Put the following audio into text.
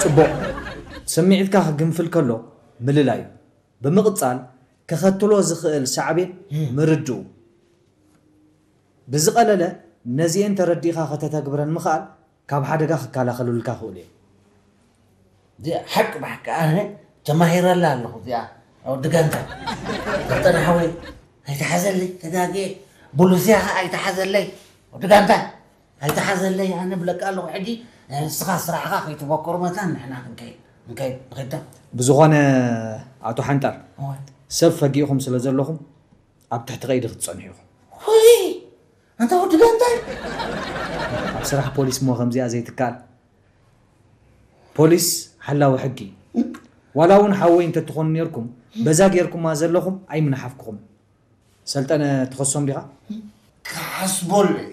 ጽቡቕ። ስምዒትካ ክግንፍል ከሎ ምልላይ እዩ። ብምቕጻል፣ ከኸትሎ ዝኽእል ሳዕቤን ምርድኡ። ብዝቐለለ፣ ነዚኤን ተረዲእኻ ከተተግብረን ምኽኣል ካብ ሓደጋ ክከላኸሉልካ ይኽእሉ እዮም። እዚኣ ሓቂ ብሓቂ ኣነ ተማሂረላ ኣለኹ። እዚኣ ወዲ ጋንታ ፈጠነ ሓወይ ኣይተሓዘለይ ተጋግየ ብሉስያ ከዓ ኣይተሓዘለይ ወዲ ጋንታ ኣይተሓዘለይ ኣነ ብለካ ኣለኹ። ሕጂ ንስኻ ስራሕኻ ከይትበኮሩ መታን ንሕና ክንከይድ ክንከይድ ንኸይዳ ብዝኾነ ኣቶ ሓንጣር እወ። ሰብ ፈጊእኹም ስለ ዘለኹም ኣብ ትሕቲ ቀይዲ ክትጸንሑ ኢኹም። ወይ ኣንታ ወዲ ጋንታይ ኣብ ስራሕ ፖሊስ እሞ ከምዚኣ ዘይትከኣል። ፖሊስ ሓላዊ ሕጊ እዩ። ዋላ እውን ሓወይ እንተትኾኑ ነርኩም በዛ ጌርኩማ ዘለኹም ኣይምንሓፍኩኹም። ሰልጠነ ትኸሶም ዲኻ? ክሓስበሉ እየ።